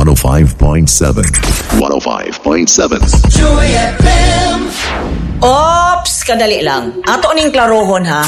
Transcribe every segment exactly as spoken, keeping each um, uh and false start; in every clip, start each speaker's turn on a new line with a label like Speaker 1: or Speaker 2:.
Speaker 1: one oh five point seven. one oh five point seven.
Speaker 2: Joy F M.
Speaker 3: Ops, kadali lang. Ato ning klarohon ha.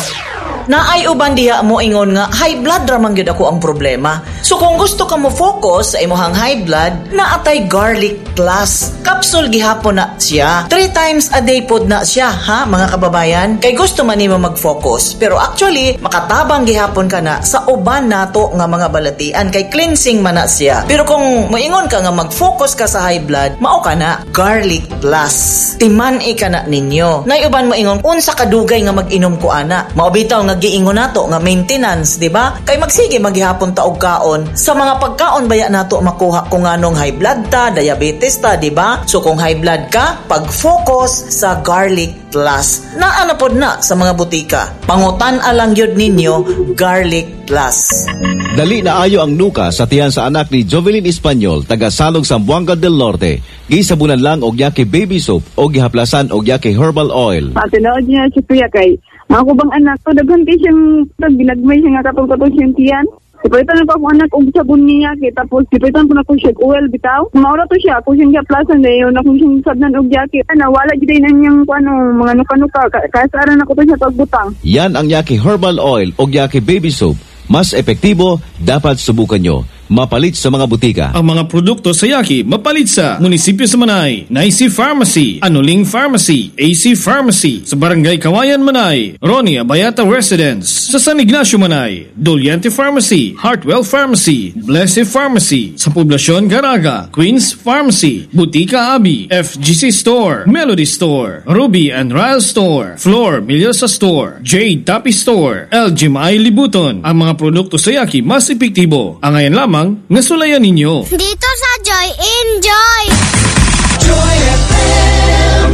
Speaker 3: Naay uban diha mo ingon nga high blood ra man gyud ako ang problema. So kung gusto ka mo focus sa imong high blood, naatay Garlic Plus. Capsule gihapon na siya. Three times a day pod na siya ha, mga kababayan. Kay gusto man nimo mag-focus. Pero actually, makatabang gihapon ka na sa uban nato nga mga balatian kay cleansing man na siya. Pero kung moingon ka nga mag-focus ka sa high blood, mao ka na Garlic Plus. Timan-i ka na ninyo. Nay uban mo ingon unsa kadugay nga mag-inom ko ana. Mao bitaw nga giingon nato nga maintenance, di ba? Kay magsige maghihapon ta og kaon. Sa mga pagkaon baya nato makuha kung anong high blood ta, diabetes ta, di ba? So kung high blood ka, pag-focus sa Garlic Plus. Naa na pod na sa mga butika. Pangutan alang gyud ninyo Garlic Plus.
Speaker 4: Dali na ayo ang nuka sa tiyan sa anak ni Jovelyn Espanyol, taga Salog, Zamboanga del Norte. Gisabunan lang og Yaki baby soap o gihaplasan og Yaki herbal oil.
Speaker 5: Patinood niya si kuya kay ang ako bang anak ko, daghan kay siyang ginagmay siya nga katong-katong siyang tiyan. Gipalitan pa ako anak og sabon niya kay tapos gipalitan po na ko siya og oil bitaw. Maura to siya ako siyang gihaplasan dayon ako siyang sabnan og Yaki. Ana wala gid na niyang ano mga nuka-nuka kasaran ako to siya pagbutang.
Speaker 4: Yan ang Yaki herbal oil o Yaki baby soap. Mas epektibo, dapat subukan nyo. Mapalit sa mga butika.
Speaker 6: Ang mga produkto sa Yaki mapalit sa munisipyo sa Manay, Nicey Pharmacy, Anuling Pharmacy, A C Pharmacy, sa Barangay Kawayan Manay, Ronnie Abayata Residence, sa San Ignacio Manay, Doliente Pharmacy, Hartwell Pharmacy, Blessed Pharmacy, sa Poblasyon Garaga, Queen's Pharmacy, Butika Abi, F G C Store, Melody Store, Ruby and Ryle Store, Floor Milyosa Store, Jade Tapi Store, L G Mai Libuton. Ang mga produkto sa Yaki mas epektibo. Angayan lamang nga sulayan ninyo.
Speaker 7: Dito sa Joy, enjoy!
Speaker 2: Joy F M.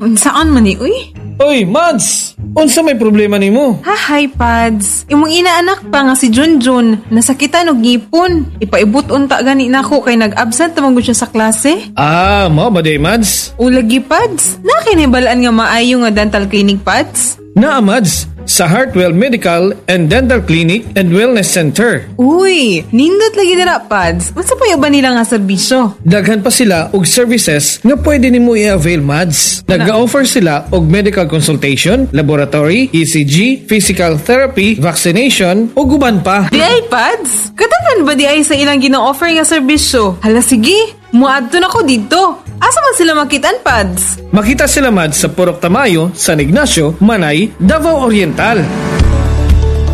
Speaker 8: Unsaan man ni, uy?
Speaker 6: Oy, Mads! Unsa may problema nimo?
Speaker 8: Ha, hi, Pads. Imong inaanak pa nga si Junjun, nasakitan og ngipon. Ipaibot unta gani nako kay nag-absent man gud siya sa klase.
Speaker 6: Ah, mao ba day, Mads?
Speaker 8: Ulagi, Pads. Nakinibalaan nga maayo nga dental clinic, Pads?
Speaker 6: Naa, Mads, sa Heartwell Medical and Dental Clinic and Wellness Center.
Speaker 8: Uy, nindot lagi dira, Pads. Unsa pa ba nila nga serbisyo?
Speaker 6: Daghan pa sila og services nga pwede nimo i-avail, Mads. Nag-offer sila og medical consultation, laboratory, E C G, physical therapy, vaccination, ug uban pa.
Speaker 8: Di ay, Pads? Kadaghan ba di ay sa ilang gina-offer nga serbisyo? Hala sige, muadto na ko dito. Asa man sila makitaan, Pads?
Speaker 6: Makita sila, Mads, sa Purok Tamayo, San Ignacio, Manay, Davao Oriental.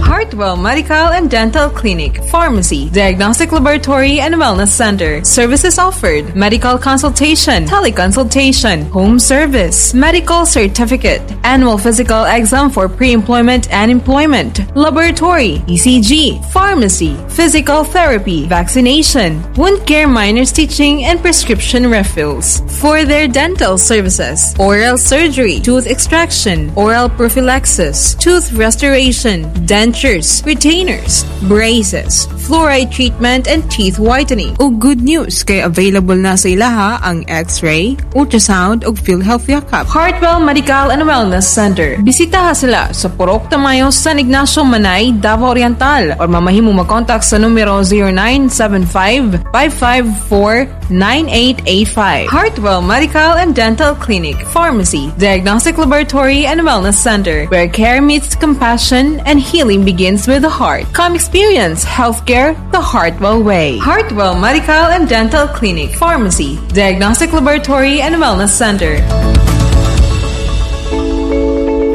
Speaker 8: Heartwell Medical and Dental Clinic, Pharmacy, Diagnostic Laboratory and Wellness Center. Services offered: medical consultation, teleconsultation, home service, medical certificate, annual physical exam for pre-employment and employment, laboratory, E C G, pharmacy, physical therapy, vaccination, wound care minor stitching, and prescription refills. For their dental services, oral surgery, tooth extraction, oral prophylaxis, tooth restoration, dentures, retainers, braces, fluoride treatment, and teeth whitening. O good news, kay available na sa ilaha ang X-ray, ultrasound, ug PhilHealth Yakap. Heartwell Medical and Wellness Center. Bisitaha sila sa Purok Tamayo, San Ignacio, Manay, Davao Oriental or mamahimo mag-contact sa numero zero nine seven five, five five four, nine eight eight five. Heartwell Medical and Dental Clinic, Pharmacy, Diagnostic Laboratory and Wellness Center, where care meets compassion and healing begins with the heart. Come experience healthcare the Heartwell way. Heartwell Medical and Dental Clinic, Pharmacy, Diagnostic Laboratory and Wellness Center.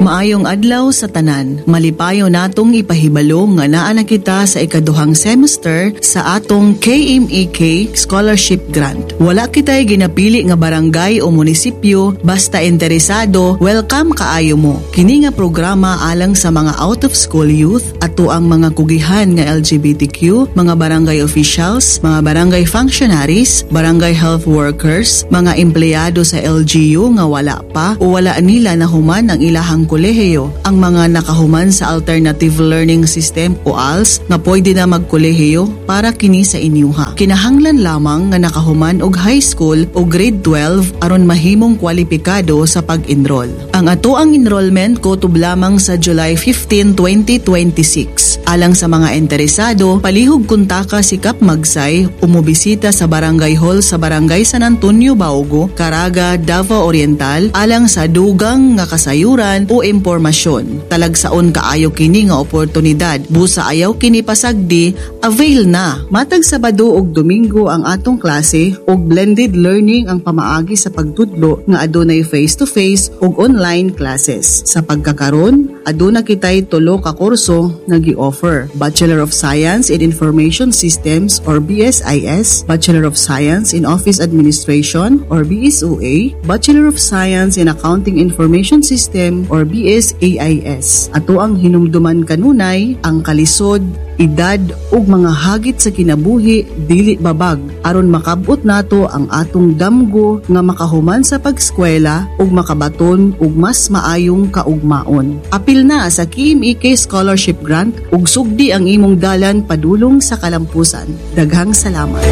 Speaker 9: Maayong adlaw sa tanan. Malipayo natong ipahibalo nga naa na kita sa ikaduhang semester sa atong K M E K Scholarship Grant. Wala kita'y ginapili nga barangay o munisipyo, basta interesado, welcome kaayo mo. Kini nga programa alang sa mga out of school youth, ato ang mga kugihan nga L G B T Q, mga barangay officials, mga barangay functionaries, barangay health workers, mga empleyado sa L G U nga wala pa o wala nila nahuman ang ilahang kolehiyo, ang mga nakahuman sa Alternative Learning System o A L S nga pwede na magkolehiyo, para kini sa inyuha. Kinahanglan lamang nga nakahuman og high school o grade twelve aron mahimong kwalipikado sa pag-enroll. Ang ato ang enrollment kutob lamang sa July fifteen, twenty twenty-six. Alang sa mga interesado, palihog kontaka si Kap Magsay o mobisita sa Barangay Hall sa Barangay San Antonio Baugo, Caraga, Davao Oriental alang sa dugang nga kasayuran o impormasyon. Talagsaon kaayo kini nga oportunidad. Busa ayaw kini pasagdi, avail na. Matag Sabado ug Domingo ang atong klase ug blended learning ang pamaagi sa pagtudlo nga adunay face-to-face ug online classes. Sa pagkakaron, aduna kitay tulo ka kurso nga gi-offer. Bachelor of Science in Information Systems or B S I S, Bachelor of Science in Office Administration or B S O A, Bachelor of Science in Accounting Information System or B S A I S. Ato ang hinumduman kanunay ang kalisod, edad ug mga hagit sa kinabuhi dili babag aron makabot nato ang atong damgo nga makahuman sa pagskwela ug makabaton og mas maayong kaugmaon. Apil na sa K M E K Scholarship Grant ug sugdi ang imong dalan padulong sa kalampusan. Daghang salamat.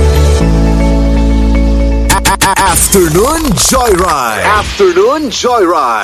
Speaker 10: Afternoon Joyride. Afternoon Joyride.